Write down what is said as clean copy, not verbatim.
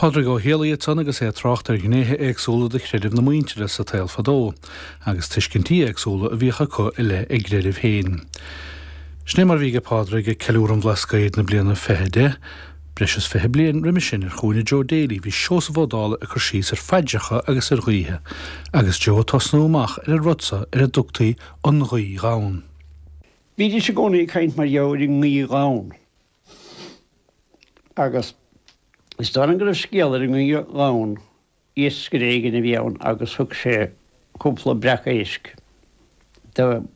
Pádraig Ó Héalaí ansan agus é ag trácht ar ghnéithe éagsúla de chreideamh na muintire sa tsaol fadó, agus tuiscintí éagsúla a bhíodh acu i leith a gcreidimh féin. Sin é mar a bhí aige Pádraig ag ceiliúradh an Bhlascaoid na bliana 2010. Breis is 20 bliain roimhe sin ar chúinne Joe Daly bhí Seosamh Ó Dálaigh ag cur síos ar phaidreacha agus ar ghuíthe, agus Joe ag tosnú amach ar an rud so ar a dtugtaí an ghuí dhonn. Bhídís i gcónaí ag caint mar gheall ar an ngaoth dhonn. Agus is dóigh liom go raibh scéal ar an ngaoth dhonn, iascaire éigin a bhí ann agus thug sé cúpla breac éisc do.